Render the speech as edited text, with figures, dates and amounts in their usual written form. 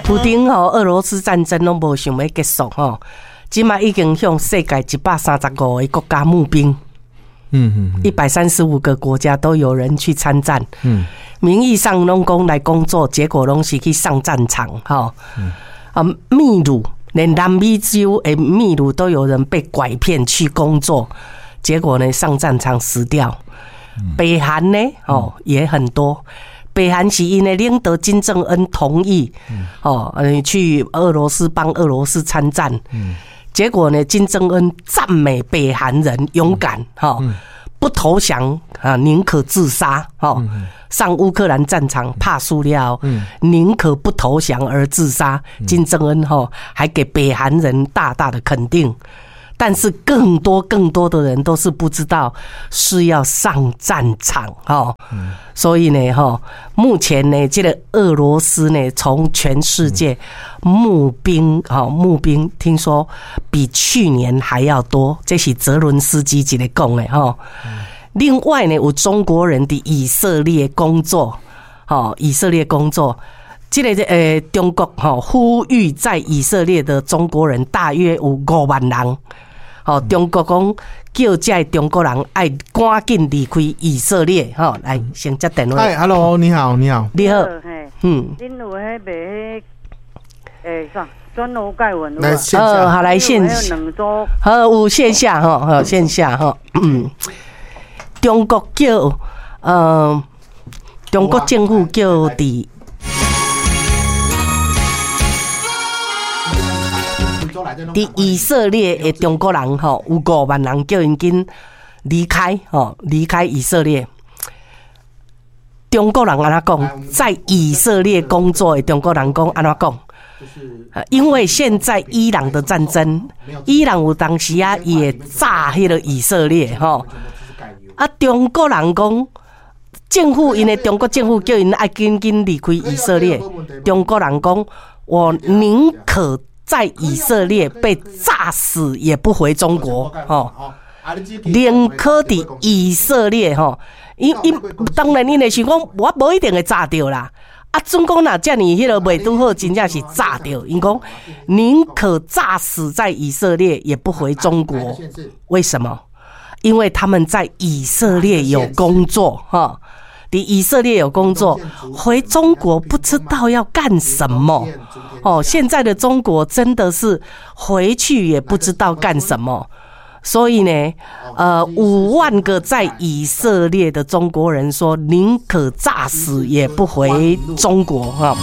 普丁吼，俄羅斯戰爭攏無想欲結束吼，這馬已經向世界135個國家募兵。135個國家都有人去參戰。名義上攏講來工作，結果攏是去上戰場吼。啊，秘魯連南美洲的秘魯都有人被拐騙去工作，結果呢上戰場死掉。北韓呢，哦也很多。北韓是𪜶的領導金正恩同意，哦，去俄羅斯幫俄羅斯參戰。結果呢，金正恩讚美北韓人勇敢，哈，不投降啊，寧可自殺，哈，上烏克蘭戰場拍輸了，寧可不投降而自殺。金正恩哈還給北韓人大大的肯定。但是更多更多的人都是不知道是要上戰場哈，所以呢哈，目前呢這個俄羅斯呢從全世界募兵哈，募兵聽說比去年還要多，這是澤倫斯基一个講的哈。另外呢，有中國人佇以色列工作，哈，以色列工作。這个中國吼呼籲在以色列的中國人大約有5萬人。吼，中國講叫這中國人愛趕緊離開以色列，吼，來先接電話。嗨，Hello，你好，你好，你好，嗯，恁有彼賣彼啥轉羅蓋文？來線下，好來線，好有線下吼，好線下吼，中國叫中國政府叫佇以色列的中國人吼，有5萬人叫𪜶緊離開吼，離開以色列。中國人按怎講？在以色列工作的中國人講按怎講？因為現在伊朗的戰爭，伊朗有當時啊也炸彼个以色列吼。啊，中國人講，政府𪜶的中國政府叫𪜶愛緊緊離開以色列。中國人講，我寧可在以色列被炸死，也不回中國。吼，寧可佇以色列吼，𪜶𪜶當然𪜶會想講，我無一定會炸著啦。啊，總講若遮爾彼个袂拄好，真正是炸著。𪜶講寧可炸死在以色列，也不回中國。為什麼？因為他們在以色列有工作，哈，佇以色列有工作，回中國不知道要幹什麼。哦，現在的中國真的是回去也不知道幹什麼。所以呢，5萬個在以色列的中國人說，寧可炸死也不回中國，哈。